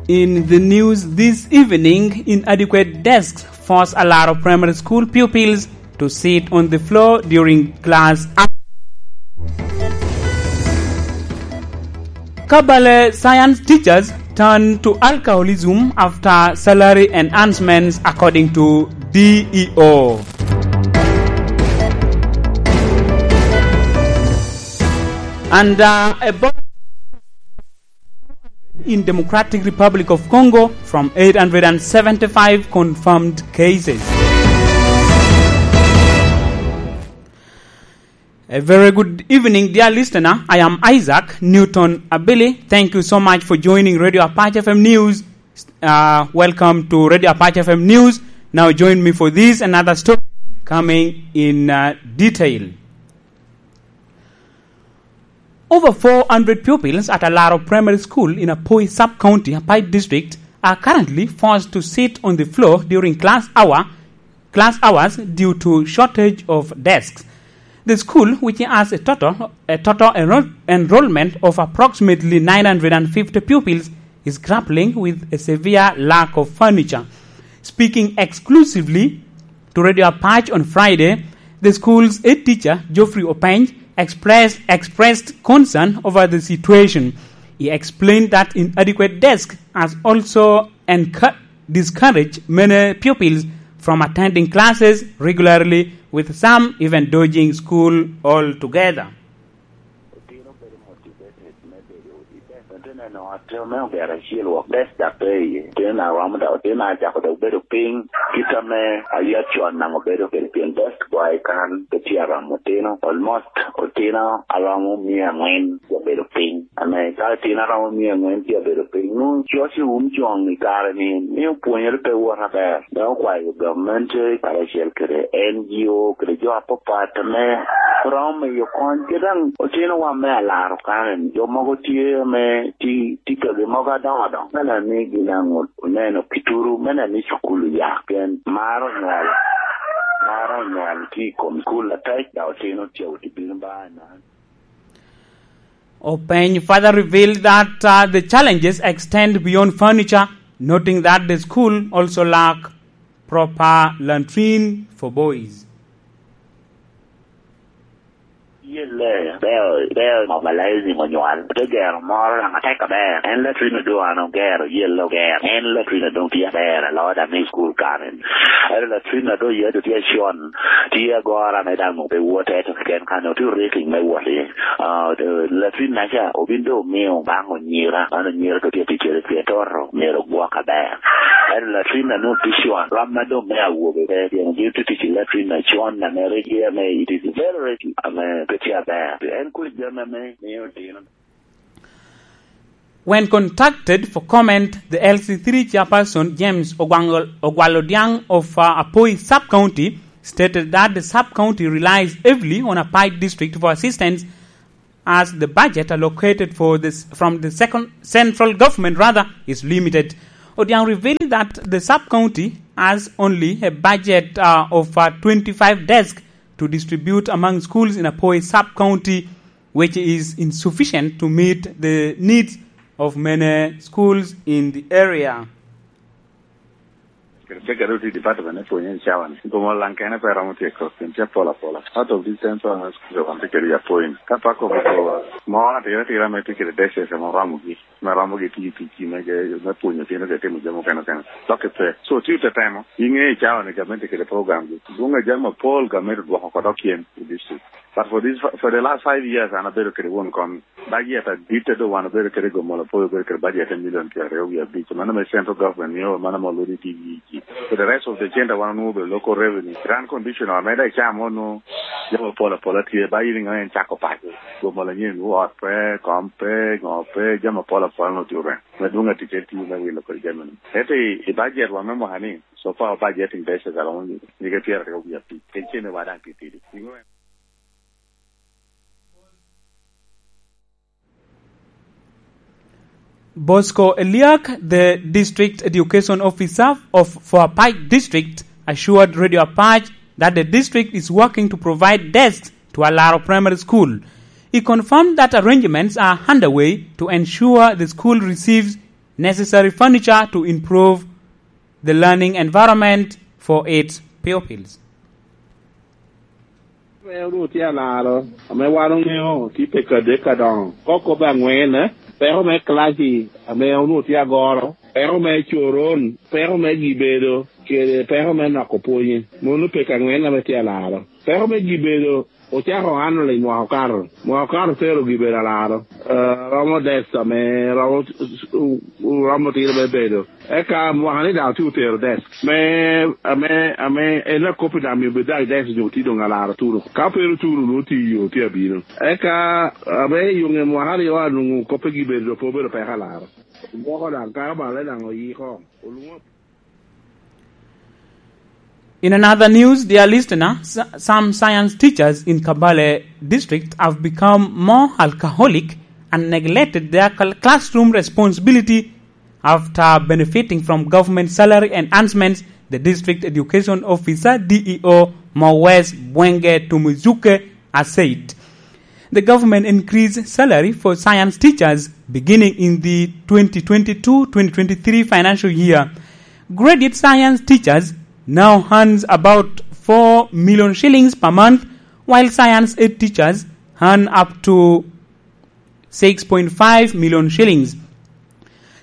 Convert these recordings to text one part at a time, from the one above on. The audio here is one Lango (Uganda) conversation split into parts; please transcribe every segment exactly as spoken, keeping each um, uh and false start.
In the news this evening, inadequate desks force Alaro Primary School pupils to sit on the floor during class hours. Kabale science teachers turn to alcoholism after salary enhancements, according to D E O. And uh, a bo- in Democratic Republic of Congo from eight hundred and seventy-five confirmed cases. A very good evening, dear listener. I am Isaac Newton Abili. Thank you so much for joining Radio Apache F M News. Uh, welcome to Radio Apache F M News. Now join me for this another story coming in uh, detail. Over four hundred pupils at Alaro Primary School in Apoi Sub-County, Apac District, are currently forced to sit on the floor during class hour, class hours due to shortage of desks. The school, which has a total, a total enroll-, enrollment of approximately nine hundred and fifty pupils, is grappling with a severe lack of furniture. Speaking exclusively to Radio Apache on Friday, the school's head teacher, Geoffrey Openy, expressed, expressed concern over the situation. He explained that inadequate desk has also encu-, discouraged many pupils from attending classes regularly, with some even dodging school altogether. Otino bedo motivated me bedo i desk. Otino eno otino me ogero acel wok desk dok pe iye. Otino na romo dok, otino na cako dok bedo piny. Kit ame ayat con namo bedo kede pien desk gwa i kan pe tye aromo otino. Almost otino aromo mia angwen tye abedo piny. Ame ka otino aromo mia angwen tye abedo piny, nwoŋo coc i wun coŋ i kare-ni, ni opwonyere pe wot aber. Dok okwayo gamente karacel kede N G O kede jo apapat ame romo miyo kony. Kit daŋ otinowa me alaro kare-ni, jo mogo tye ame ti-, tye kagi mogo adoŋo adoŋo. Me neno ni gin aŋo oneno kituru, me neno ni cukul oya. Pien mar onywal, mar onywal tye i kom cukul atek, dok otino tye awot i bino ba i man. Openy further revealed that uh, the challenges extend beyond furniture, noting that the school also lack proper latrine for boys. Yelle, beo, beo mobilizing onywal. Te gero moro daŋ atek aber. En latrine doŋ an ogero, yelle ogero. En latrine doŋ tye aber, aloo daŋ i school karen. Ento latrine a doŋ yadde tye acon, tye agora me daŋ ope wote, to keken kan otye rating me wot iye. Ah, latrine naca obin doŋ omio baŋ onyira, man onyira doŋ tye ticere tye toto, myero ogwok aber. Ento latrine a nwoŋo tye con, ram ma doŋ me awobe pe, pien gin tye tic i latrine acon, ame rik tye ame it is very rating, ame pe tye aber. En kodi jami ame mio dino. When contacted for comment, the L C three chairperson, James Ogwang-, Ogwal Odiang of uh, Apoi Sub-County, stated that the sub-county relies heavily on Apac District for assistance, as the budget allocated for this from the second central government rather is limited. Odiang revealed that the sub-county has only a budget uh, of uh, twenty-five desks to distribute among schools in Apoi Sub-County, which is insufficient to meet the needs of many schools in the area. Kede cegere oti department me pwonyo i cawa ni. Gomo lang kene pe romo tyeko, pien tye apol apola. Out of these ten thousand schools wan tye kede i Apoi ni. Ka pe akobo ko, mo atira atira me tye kede desk ame oromogi, me romogi tiyo ticgi me ge-, me pwonyo otino kede timo jami okene okene. Dok pe. So, tye tetemo, inge i cawa ni gamente kede program gi. Dwong a jami apol gamente odwoko oko dok cen i district. But for this, for the last five years, an abedo kede won kom. Budget adit a doŋ wan obedo kede i Gomolo, Apoi obedo kede budget me million pyeraryo wie abic. Mano me central government mio, mano ame olwodo i T V E G. For the rest of the center, wan onwoŋo obedo local revenue. Run condition, ame daŋ icamo onwoŋo jami apol apola tye, ba in iŋeo en cako paco. Gomolo anyen, ot pe, kom pe, ŋo pe, jami apol apola onwoŋo tye orem. Me dwoŋ atic en tiyo me wilo kodi jami ni. Ento i, i budget wa me mwaka ni, so far budgeting basis aromo nyige, nyige pyeraryo wie abic. Kec cene wa daŋ titidi. Iŋeo en Bosco Eliak, the district education officer of, for Apac District, assured Radio Apac that the district is working to provide desks to Alaro Primary School. He confirmed that arrangements are underway to ensure the school receives necessary furniture to improve the learning environment for its pupils. Ame onwoŋo tye alaro, ame wan oŋeo tye peko adek adoŋo. Kok kop aŋwen, peko me kilaci ame onwoŋo tye agoro, peko me coron, peko me gibedo, kede peko me noko pwonye. Mano peko aŋwen ame tye alaro. Peko me gibedo ocako annual i mwaka okato. Mwaka okato tero gibedo alaro. Eh, romo desk ame romo, romo tiro me bedo. Eka mwaka ni daŋ tye otero desk. Me, ame, ame, en akop i daŋ mio bed daŋ desk nyo tye doŋ alaro tuno. Ka pe oturo, nwoŋo tye i yo, tye abino. Eka, ame i yo ŋe mwaka aryo anwoŋo kop pe gibedo, pe obedo peko alaro. Gwoko daŋ, ka bale daŋ oyiko. Olwoŋo. In another news, dear listener, s-, some science teachers in Kabale district have become more alcoholic and neglected their cl-, classroom responsibility after benefiting from government salary enhancements, the district education officer, D E O, Mowes Bwenge Tumuzuke, has said. The government increased salary for science teachers beginning in the twenty twenty-two twenty twenty-three financial year. Graduate science teachers now earns about four million shillings per month, while science ed teachers earn up to six point five million shillings.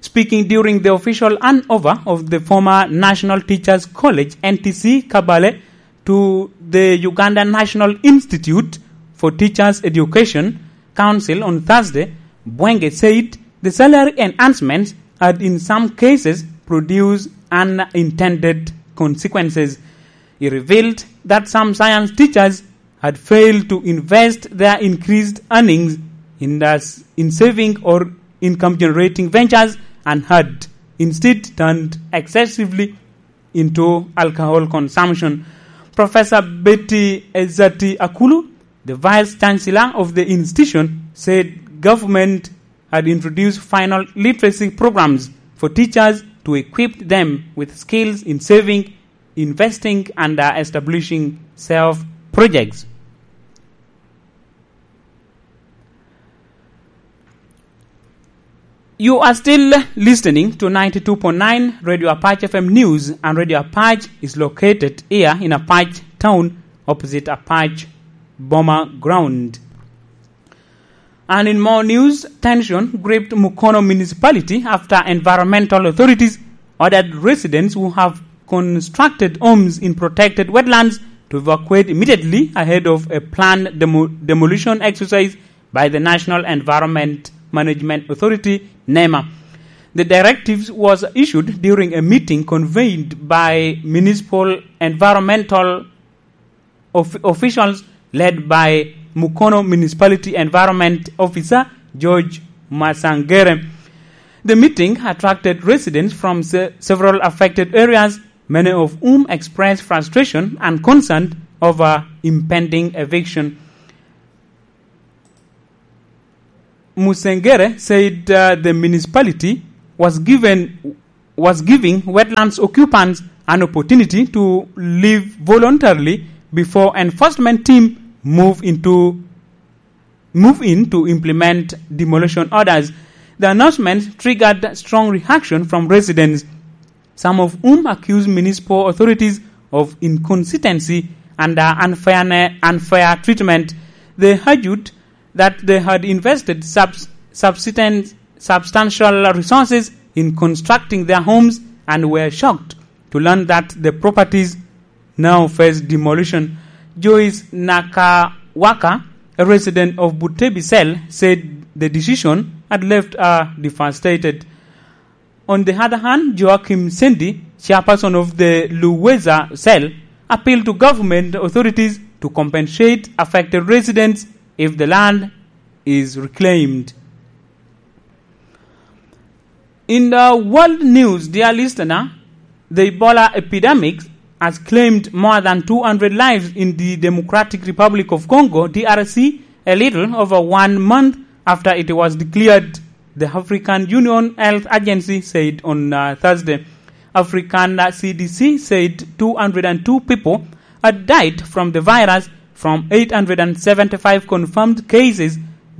Speaking during the official handover of the former National Teachers College, N T C, Kabale to the Uganda National Institute for Teachers Education Council on Thursday, Bwenge said the salary enhancements had in some cases produced unintended consequences. He revealed that some science teachers had failed to invest their increased earnings in the s-, in saving or income-generating ventures and had instead turned excessively into alcohol consumption. Professor Betty Ezati Akulu, the Vice Chancellor of the institution, said government had introduced final literacy programs for teachers to equip them with skills in saving, investing, and, uh, establishing self projects. You are still listening to ninety-two point nine Radio Apache F M News, and Radio Apache is located here in Apache Town, opposite Apache Boma Ground. And in more news, tension gripped Mukono Municipality after environmental authorities ordered residents who have constructed homes in protected wetlands to evacuate immediately ahead of a planned demo-, demolition exercise by the National Environment Management Authority, nema. The directives was issued during a meeting convened by municipal environmental of-, officials led by Mukono Municipality Environment Officer George Masangere. The meeting attracted residents from se-, several affected areas, many of whom expressed frustration and concern over impending eviction. Musengere said, uh, the municipality was given, was giving wetlands occupants an opportunity to leave voluntarily before enforcement team move into, move in to implement demolition orders. The announcement triggered strong reaction from residents, some of whom accused municipal authorities of inconsistency and, uh, unfairne-, unfair treatment. They argued that they had invested subs-, subsisten-, substantial resources in constructing their homes and were shocked to learn that the properties now face demolition. Joyce Nakawaka, a resident of Butebi Cell, said the decision had left her devastated. On the other hand, Joachim Sendi, chairperson of the Luweza Cell, appealed to government authorities to compensate affected residents if the land is reclaimed. In the world news, dear listener, the Ebola epidemic has claimed more than two hundred lives in the Democratic Republic of Congo, D R C, a little over one month after it was declared, the African Union Health Agency said on, uh, Thursday. African, uh, C D C said two hundred and two people had died from the virus, from eight hundred and seventy-five confirmed cases,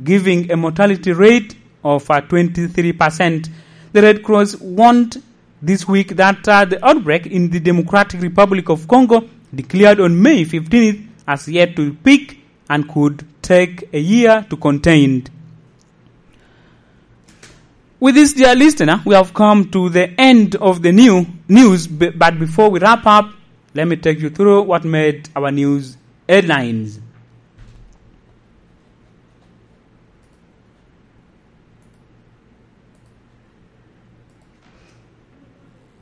giving a mortality rate of, uh, twenty-three percent. The Red Cross warned this week that, uh, the outbreak in the Democratic Republic of Congo, declared on May fifteenth, has yet to peak and could take a year to contain. With this, dear listener, we have come to the end of the new news, b-, but before we wrap up, let me take you through what made our news headlines.